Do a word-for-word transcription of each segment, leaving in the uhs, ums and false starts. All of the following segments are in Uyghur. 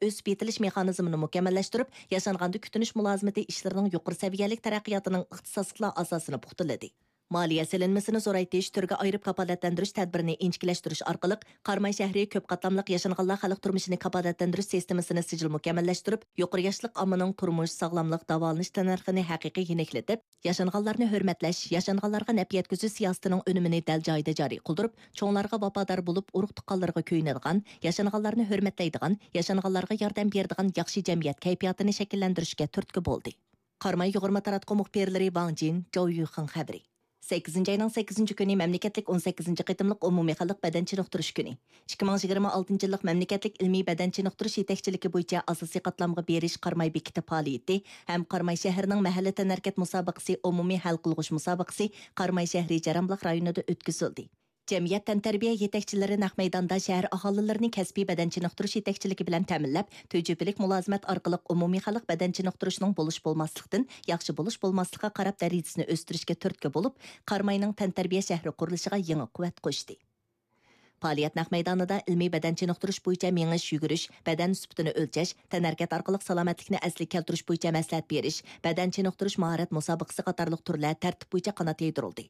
ئۆسۈپ يېتىلىش مېخانىزمىنى مۇكەممەللەشتۈرۈپ، ياشانغاندا كۈتۈنۈش مۇلازىمىتى ئىشلىرىنىڭ يۇقىرى سەۋىيەلىك تەرەققىياتىنىڭ ئىختىساسلىقلار ئاساسىنى پۇختىلىدى. مالىيە سېلىنمىسىنى زورايتىش، تۈرگە ئايرىپ كاپالەتلەندۈرۈش تەدبىرىنى ئىنچىكىلەشتۈرۈش ئارقىلىق، قاراماي شەھىرى كۆپ قاتلاملىق ياشانغانلار خەلق تۇرمۇشىنى كاپالەتلەندۈرۈش سىستېمىسىنى سىجىل مۇكەممەللەشتۈرۈپ، يۇقىرى ياشلىق ئاممىنىڭ تۇرمۇش، ساغلاملىق، داۋالىنىش تەننەرخىنى ھەقىقىي يېنىكلىتىپ، ياشانغانلارنى ھۆرمەتلەش، ياشانغانلارغا نەپ يەتكۈزۈش سىياسىتىنىڭ ئۈنۈمىنى دەل جايىدا جارى قىلدۇرۇپ، چوڭلارغا ۋاپادار بولۇپ، ئۇرۇق-تۇغقانلىرىغا كۆيۈنىدىغان، ياشانغانلارنى ھۆرمەتلەيدىغان، ياشانغانلارغا ياردەم بېرىدىغان ياخشى جەمئىيەت كەيپىياتىنى شەكىللەندۈرۈشكە تۈرتكە بولدى. قاراماي يۇغۇرما تاراتقۇ مۇخبىرلىرى ۋاڭ جىن، جاۋ يۈخېڭ خەۋىرى. سەككىزىنچى ئاينىڭ سەككىزىنچى كۈنى مەملىكەتلىك ئون سەككىزىنچى قېتىملىق ئومۇمىي خەلق بەدەن چېنىقتۇرۇش كۈنى. ئىككى مىڭ يىگىرمە ئالتىنچى يىللىق مەملىكەتلىك ئىلمىي بەدەن چېنىقتۇرۇش يېتەكچىلىكى بويىچە ئاساسىي قاتلامغا بېرىش قاراماي بېكىتى پائالىيىتى ھەم قاراماي شەھىرىنىڭ مەھەللە تەنھەرىكەت مۇسابىقىسى ئومۇمىي ھەل قىلغۇچ مۇسابىقىسى قاراماي شەھىرى جەرەنبۇلاق رايونىدا ئۆتكۈزۈلدى. جەمئىيەت تەنتەربىيە يېتەكچىلىرى نەق مەيداندا شەھەر ئاھالىلىرىنى كەسپىي بەدەن چېنىقتۇرۇش يېتەكچىلىكى بىلەن تەمىنلەپ، تۈجۈپىلىك مۇلازىمەت ئارقىلىق ئومۇمىي خەلق بەدەن چېنىقتۇرۇشنىڭ بولۇش-بولماسلىقتىن ياخشى بولۇش-بولماسلىققا قاراپ دەرىجىسىنى ئۆستۈرۈشكە تۈرتكە بولۇپ، قاراماينىڭ تەنتەربىيە شەھىرى قۇرۇلۇشىغا يېڭى قۇۋۋەت قوشتى. پائالىيەت نەق مەيدانىدا ئىلمىي بەدەن چېنىقتۇرۇش بويىچە مېڭىش، يۈگۈرۈش، بەدەن سۈپىتىنى ئۆلچەش، تەنھەرىكەت ئارقىلىق سالامەتلىكنى ئەسلىگە كەلتۈرۈش بويىچە مەسلىھەت بېرىش، بەدەن چېنىقتۇرۇش ماھارەت مۇسابىقىسى قاتارلىق تۈرلەر تەرتىپ بويىچە قانات يايدۇرۇلدى.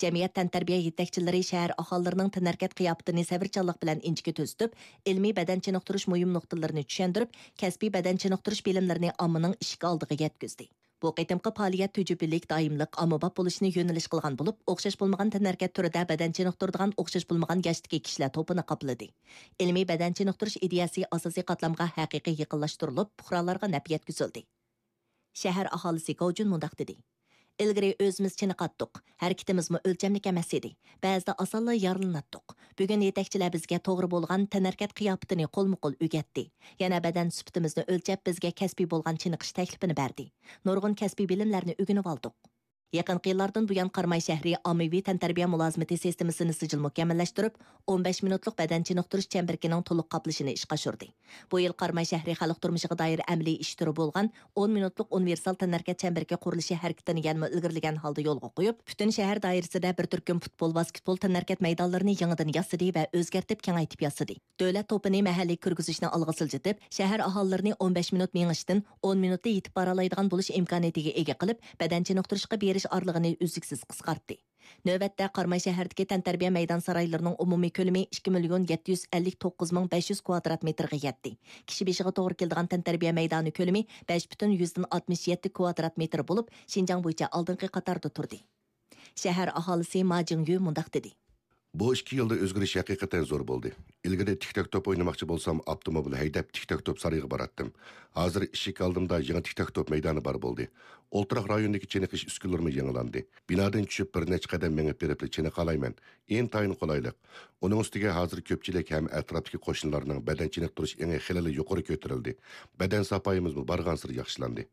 جەمئىيەت تەنتەربىيە يېتەكچىلىرى شەھەر ئاھالىلىرىنىڭ تەنھەرىكەت قىياپىتىنى سەۋرچانلىق بىلەن ئىنچىكە تۈزىتىپ، ئىلمىي بەدەن چېنىقتۇرۇش مۇھىم نۇقتىلىرىنى چۈشەندۈرۈپ، كەسپىي بەدەن چېنىقتۇرۇش بىلىملىرىنى ئاممىنىڭ ئىشىك ئالدىغا يەتكۈزدى. بۇ قېتىمقى پائالىيەت تۈجۈپىلىك، دائىملىق، ئاممىباب بولۇشنى يۆنىلىش قىلغان بولۇپ، ئوخشاش بولمىغان تەنھەرىكەت تۈرىدە بەدەن چېنىقتۇرىدىغان ئوخشاش بولمىغان ياشتىكى كىشىلەر توپىنى قاپلىدى. ئىلمىي بەدەن چېنىقتۇرۇش ئىدىيەسى ئاساسىي قاتلامغا ھەقىقىي يېقىنلاشتۇرۇلۇپ، پۇقرالارغا نەپ يەتكۈزۈلدى. شەھەر ئاھالىسى گاۋجۈن مۇنداق دېدى: «ئىلگىرى ئۆزىمىز چېنىقاتتۇق، ھەرىكىتىمىزمۇ ئۆلچەملىك ئەمەس ئىدى. بەزىدە ئاسانلا يارىلىناتتۇق. بۈگۈن يېتەكچىلەر بىزگە توغرا بولغان تەنھەرىكەت قىياپىتىنى قولمۇ-قول ئۆگەتتى. يەنە بەدەن سۈپىتىمىزنى ئۆلچەپ، بىزگە كەسپىي بولغان چېنىقىش تەكلىپىنى بەردى. نۇرغۇن كەسپىي بىلىملەرنى ئۆگىنىۋالدۇق.» يېقىنقى يىللاردىن بۇيان، قاراماي شەھىرى ئاممىۋى تەنتەربىيە مۇلازىمىتى سىستېمىسىنى سىجىل مۇكەممەللەشتۈرۈپ، ئون بەش مىنۇتلۇق بەدەن چېنىقتۇرۇش چەمبىرىكىنىڭ تولۇق قاپلىشىنى ئىشقا ئاشۇردى. بۇ يىل قاراماي شەھىرى خەلق تۇرمۇشىغا دائىر ئەمەلىي ئىش تۈرى بولغان ئون مىنۇتلۇق ئۇنىۋېرسال تەنھەرىكەت چەمبىرىكى قۇرۇلۇشى ھەرىكىتىنى يەنىمۇ ئىلگىرىلىگەن ھالدا يولغا قويۇپ، پۈتۈن شەھەر دائىرىسىدە بىر تۈركۈم پۇتبول، ۋاسكېتبول تەنھەرىكەت مەيدانلىرىنى يېڭىدىن ياسىدى ۋە ئۆزگەرتىپ كېڭەيتىپ ياسىدى. دۆلەت توپىنى مەھەللىگە كىرگۈزۈشنى ئالغا سىلجىتىپ، شەھەر ئاھالىلىرىنى ئون بەش مىنۇت مېڭىشتىن ئون مىنۇتتا يېتىپ بارالايدىغان بولۇش ئىمكانىيىتىگە ئىگە قىلىپ، بەدەن چېنىقتۇرۇشقا بېرىش ئارىلىقىنى ئۈزلۈكسىز قىسقارتتى. نۆۋەتتە، قاراماي شەھىرىدىكى تەنتەربىيە مەيدان سارايلىرىنىڭ ئومۇمىي كۆلىمى ئىككى مىليون يەتتە يۈز ئەللىك توققۇز مىڭ بەش يۈز كۋادرات مېتىرغا يەتتى. كىشى بېشىغا توغرا كېلىدىغان تەنتەربىيە مەيدانى كۆلىمى بەش پۈتۈن يۈزدىن ئاتمىش يەتتە كۋادرات مېتىر بولۇپ، شىنجاڭ بويىچە ئالدىنقى قاتاردا تۇردى. شەھەر ئاھالىسى ما جىڭيۈ مۇنداق دېدى. بۇ ئىككى يىلدا ئۆزگىرىش ھەقىقەتەن زور بولدى. ئىلگىرى تىك تاك توپ ئوينىماقچى بولسام، ئاپتوموبىل ھەيدەپ، تىك تاك توپ سارىيىغا باراتتىم. ھازىر ئىشىك ئالدىمدا يېڭى تىك تاك توپ مەيدانى بار بولدى. ئولتۇراق رايونىدىكى چېنىقىش ئۈسكۈنىلىرىمۇ يېڭىلاندى. بىنادىن چۈشۈپ، بىر نەچچە قەدەم مېڭىپ بېرىپلا چېنىقالايمەن. ئىنتايىن قولايلىق. ئۇنىڭ ئۈستىگە ھازىر كۆپچىلىك ھەم ئەتراپتىكى قوشنىلارنىڭ بەدەن چېنىقتۇرۇش ئېڭى خېلىلا يۇقىرى كۆتۈرۈلدى. بەدەن ساپايىمىزمۇ بارغانسېرى ياخشىلاندى.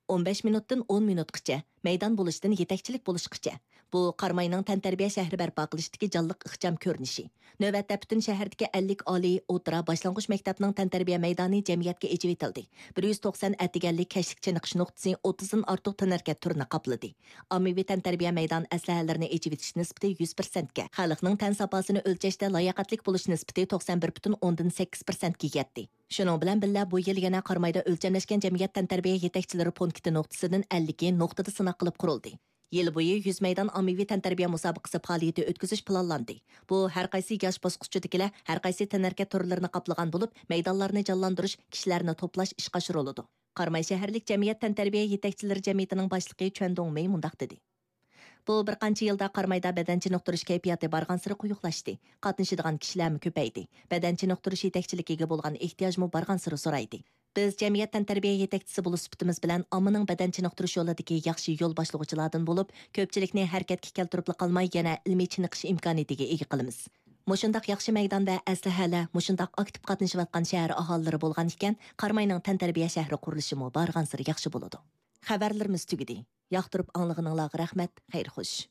ئون بەش مىنۇتتىن ئون مىنۇتقىچە، مەيدان بولۇشتىن يېتەكچىلىك بولۇشقىچە. بۇ قاراماينىڭ تەنتەربىيە شەھىرى بەرپا قىلىشتىكى جانلىق ئىخچام كۆرۈنۈشى. نۆۋەتتە پۈتۈن شەھەردىكى ئەللىك ئالىي، ئوتتۇرا، باشلانغۇچ مەكتەپنىڭ تەنتەربىيە مەيدانى جەمئىيەتكە ئېچىۋېتىلدى. بىر يۈز توقسان ئەتىگەنلىك كەچلىك چېنىقىش نۇقتىسى ئوتتۇزدىن ئارتۇق تەنھەرىكەت تۈرىنى قاپلىدى. ئاممىۋى تەنتەربىيە مەيدان ئەسلىھەلىرىنى ئېچىۋېتىش نىسبىتى يۈز پىرسەنتكە، خەلقنىڭ تەن ساپاسىنى ئۆلچەشتە لاياقەتلىك بولۇش نىسبىتى توقسان بىر پۈتۈن ئوندىن سەككىز پىرسەنتكە يەتتى. شۇنىڭ بىلەن بىللە، بۇ يىل يەنە قارامايدا ئۆلچەملەشكەن جەمئىيەت تەنتەربىيە يېتەكچىلىرى پونكىتى نۇقتىسىدىن ئەللىكى، نۇقتىدا سىناق قىلىپ قۇرۇلدى. يىل بويى يۈز مەيدان ئاممىۋى تەنتەربىيە مۇسابىقىسى پائالىيىتى ئۆتكۈزۈش پىلانلاندى. بۇ ھەر قايسى ياش باسقۇچىدىكىلەر ھەر قايسى تەنھەرىكەت تۈرلىرىنى قاپلىغان بولۇپ، مەيدانلارنى جانلاندۇرۇش، كىشىلەرنى توپلاش ئىشقا ئاشۇرۇلىدۇ. قاراماي شەھەرلىك جەمئىيەت تەنتەربىيە يېتەكچىلىرى جەمئىيىتىنىڭ باشلىقى چۈەن دۇڭمېي مۇنداق دېدى. بۇ بىر قانچە يىلدا قارامايدا بەدەن چېنىقتۇرۇش كەيپىياتى بارغانسېرى قويۇقلاشتى، قاتنىشىدىغان كىشىلەرمۇ كۆپەيدى، بەدەن چېنىقتۇرۇش يېتەكچىلىكىگە بولغان ئېھتىياجمۇ بارغانسېرى زورايدى. بىز جەمئىيەت تەنتەربىيە يېتەكچىسى بولۇش سۈپىتىمىز بىلەن ئاممىنىڭ بەدەن چېنىقتۇرۇش يولىدىكى ياخشى يول باشلىغۇچىلاردىن بولۇپ، كۆپچىلىكنى ھەرىكەتكە كەلتۈرۈپلا قالماي، يەنە ئىلمىي چېنىقىش ئىمكانىيىتىگە ئىگە قىلىمىز. مۇشۇنداق ياخشى مەيدان ۋە ئەسلىھەلەر، مۇشۇنداق ئاكتىپ قاتنىشىۋاتقان شەھەر ئاھالىلىرى بولغان ئىكەن، قاراماينىڭ تەنتەربىيە شەھىرى قۇرۇلۇشىمۇ بارغانسېرى ياخشى بولىدۇ. خەۋەرلىرىمىز تۈگىدى. ياقتۇرۇپ ئاڭلىغىنىڭلارغا رەھمەت، خەير خوش.